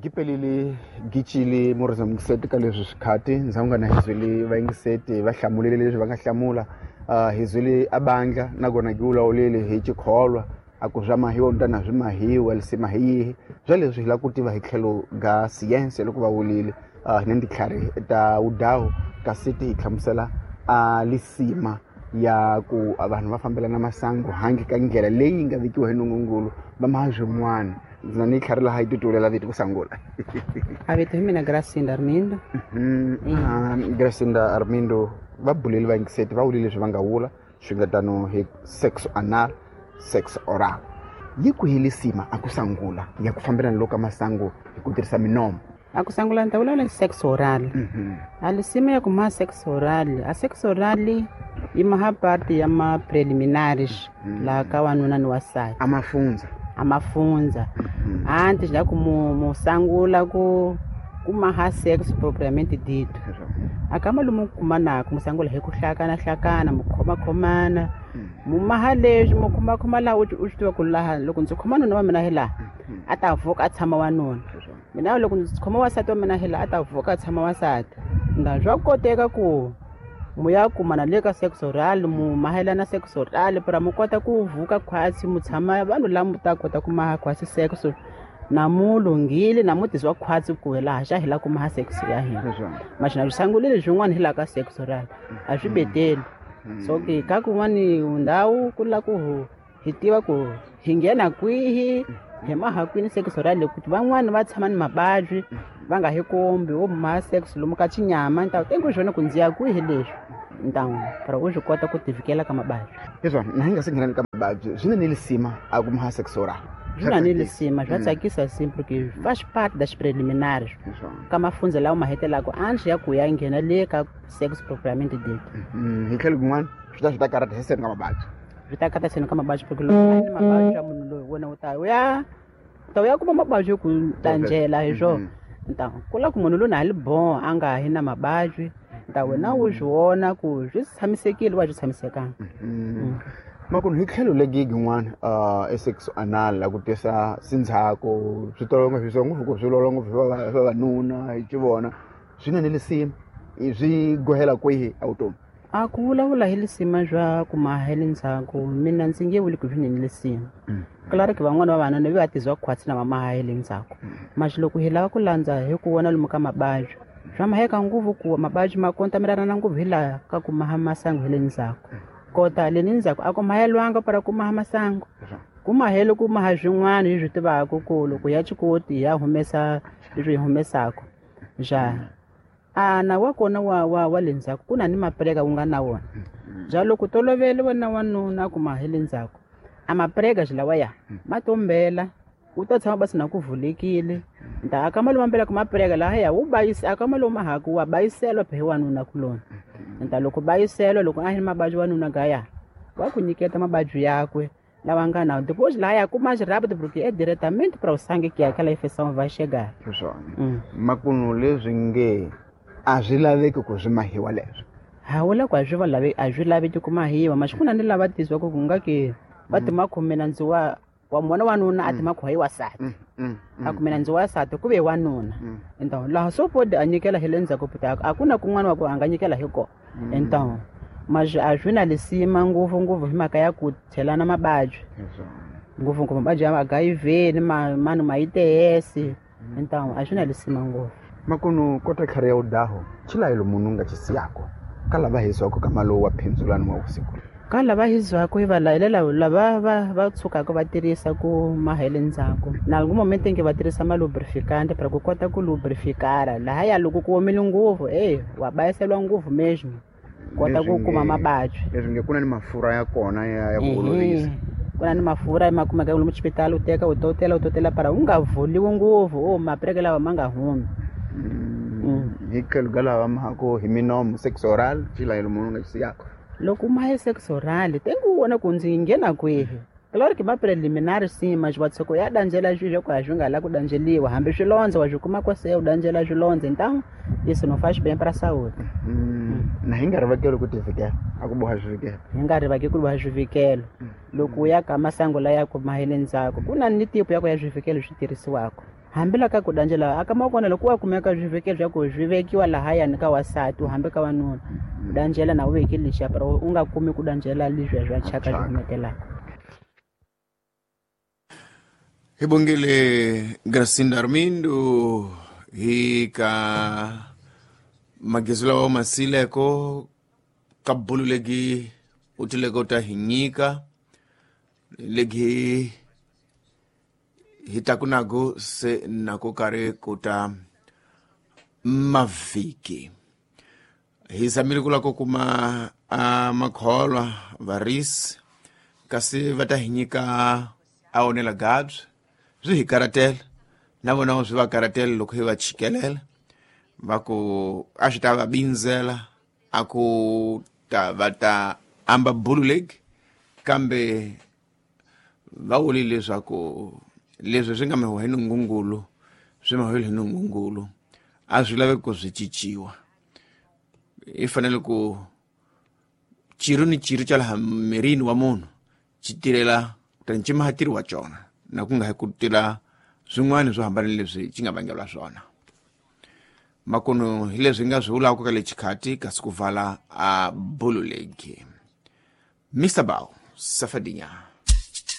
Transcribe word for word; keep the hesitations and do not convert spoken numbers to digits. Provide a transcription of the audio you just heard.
Gipelile gicile murisa mukiseti ka leswi swikhati ndzhaku nga na hizwile vayingiseti va hlamulile leswi va nga hlamula uh, hizwile abandla nakona ki wulawulile hi chikholwa a ku swa mahiwa ntana swi mahiwa lisima hi yihi bya leswi hi lava ku tiva hi tlhelo ga siyense loko va wulile uh, hi na titlhari ta wudawu kasi ti hi hlamusela a lisima ya ku vanhu va fambelana masangu handle ka ndlela leyi nga vekiwa hi nungungulu va maha swin'wana. Ndzi na ni tlhari laha yi titulela vito ku sangula. A vito hi mina Gracinda Armindo. Mm, Gracinda Armindo va buleli va yingiseti va wulile leswi va nga wula swi nga tano hi sex anal, sex oral. Yi kwihi lisima a ku sangula ya ku fambelana loko ka masangu hi ku tirhisa minomo? A ku sangula ni ta vulavula hi sex oral. A lisima ya ku maha sex oral, a sex oral yi maha part ya ma preliminaries laha ka wanuna ni wansati. A mafundza. A mafundza. Antes la ku mu, mu sangula ku ku maha sex propriamente dito. Akama lomu kumanaka mu sangula hi ku hlakana hlakana mu khoma khomana. Mu maha leswi mu khoma khoma laha u u swi tiva ku laha loko ndzi khoma nuna wa mina hi laha a ta vuka a tshama wanuna. Mina loko ndzi khoma wansati wa mina hi laha a ta vuka a tshama wansati. Nda swa koteka ku mu ya kumana le ka sex oral mu mahelana sex oral para mu kota ku vuka khwatsi mu tshama vanhu lava mu ta kota ku maha khwatsi sex na mu lunghile na mu tizwa khwatsi ku laha xa hi la ku maha sex ya hina. Maxina swi sangulile swin'wana hi laha ka sex oral a swi beteli. So ke ka kun'wani ndhawu ku la ku hi tiva ku hi nghena kwihi hi maha kwini sex oral ku van'wani va tshama ni mabadyi va nga hi kombi wo maha sex lomu ka chinyama ni ta ku swona ku ndzi ya kwihi leswi ntawu para u swi kota ku tivikela ka mabadyi. Leswi na hi nga se nghena ka mabadyi swi na ni lisima a ku maha sex oral. Swi na ni lisima swa tsakisa simple ke faz parte das preliminares ka mafundza lawa ma hetelaka antes ya ku ya nghena le ka sex propriamente dito. Hi tlhelo kun'wana swi ta swi ta karata hi seni ka mabadyi. Swi ta karata seni ka mabadyi porque loko a ni mabadyi ya munhu loyi wena u ta ya u ta ya kuma mabadyi ku tanjela hi swona. Ntawu ku la ku munhu loyi a li bon a nga hi na mabadyi nta wena u swi vona ku swi tshamisekile wa swi tshamisekanga. Makunu hi tlhelo legi yin'wana uh, sex anal la ku tisa sindzhaku swi tolo ngopfu swi ngopfu ku swi lolo ngopfu swa vavanuna hi xivona swi na ni lisima swi gohela kwihi a vutomi? A ku vulavula hi lisima swa ku maha hi le ndzhaku mina ndzi nge vuli ku swi ni lisima. Claro que van'wana va vanuna va tizwa khwatsi na va maha hi le ndzhaku. Maxi loko hi lava ku landza hi ku vona lomu ka mabadyi swa maheka ngopfu ku mabadyi ma kontamelana ngopfu hi laha ka ku maha masangu hi le ndzhaku. Kota le ni ndzhaku a ku mahelwanga para ku maha masangu. Ku mahele ku maha swin'wana hi swi tivaka ku loko ya chikoti ya humesa leswi hi humesaka. Ja a na wa kona wa wa wa le ndzhaku ku na ni maprega wu nga na wona. Ja loko tolovele wena wanuna ku maha le ndzhaku a maprega lawa ya ma tombela u ta tshama basi na ku vulekile. Nta aka malo mambela ku maprega laha ya wu bayisa aka malo mahaku wa bayiselwa phe wanuna kulona. Nta loko bayiselwa loko a hi mabadyi wanuna gaya wa ku nyiketa mabadyi yakwe lawa nga na depois lá ya kuma mais rápido porque é diretamente para o sangue que aquela infecção vai chegar. Swona. Makunu leswi nge a swi laveki ku swi mahiwa leswi. Ha wula ku a swi va lave a swi laveki ku mahiwa mas ku na ni lava tizwa ku nga ke va ti makhomela ndzi wa wa mona wanuna a ti makhoyi wasati. A kumela ndzi wasati ku ve wanuna. Então laha so pode a nyikela hi le ndzhaku puta a ku na kun'wana wa ku a nga nyikela hi kona. Então mas a swi na lisima ngopfu ngopfu hi mhaka ya ku chelana mabadyi. Ngopfu ngopfu mabadyi ya H I V ni ma mani ma I T S. Então a swi na lisima ngopfu. Makunu kota tlhari ya udaho chilayelo munhu nga chisiyako ka lava hisiwaka ka malowu wa phindzulano wa vusiku. Ka lava hisiwaka hi va layelela lava va va tshukaka va tirhisa ku mahele ndzhaku. Na algún momento em que va tirhisa ma lubrificante para ku kota ku lubrificara laha ya loko ku omile ngopfu eh wa bayiselwa ngopfu mesmo. Kota ku kuma mabadyi. Leswi nge ku na ni mafurha ya kona ya ya ku olovisa. Ku na ni mafurha ma kumeka lomu xipitali u teka u totela u totela para u nga vuliwi ngopfu o mapreke lawa ma nga humi. Hi tlhelo ka lava mahako hi minomo sex oral chilayelo munhu nga xisiyako. Loko mahe sex oral tengu vona ku ndzi nghena kwihi. Claro que ma preliminar sim, mas wa tsoko ya danjela swilo ku a swi nga la ku danjeliwa hambi swilondza wa swi kuma ko se u danjela swilondza então isso não faz bem para a saúde. Na hi nga rivakeli ku tivikela a ku boha swivikelo. Hi nga rivaki ku boha swivikelo. Loko u ya ka masangu laya ku mahele ndzhaku ku na ni tipo ya ku ya swivikelo swi tirhisiwaka. Hambi la ka ku danjela aka makona loko wa kumeka swivekelo swa ku swi vekiwa lahayani ka wasati hambi ka wanuna ku danjela na u veki lexiya pero u nga kumi ku danjela leswiya swa thyaka swi humetelaka. Hi bongile Gracinda Armindo hi ka magezi lawa masileko ka bulu legi u tileko ta hi nyika legi hi taku nago se nako kare ku ta mavhiki. Hi zamile ku la ku kuma a makholwa varisi kasi va ta hi nyika a onela gabs swi hi karatela na vona swi va karatela loko hi va chikelela va ku a swi ta va bindzela a ku ta va ta amba bulu legi kambe va vule leswaku leswi swi nga miwa hi nungungulu swi miwa hi nungungulu a swi laveki ku swi cinciwa. I fanele ku chiro ni chiro xa laha mirini wa munhu xi tirhela kutani xi maha tirhi wa cona na ku nga hi ku tirha swin'wana swo hambana leswi xi nga vangeriwa swona. Makuno hi leswi nga swi vulaka ka le xikhati kasi ku vala a bulu legi. Mister Bao Safadinya.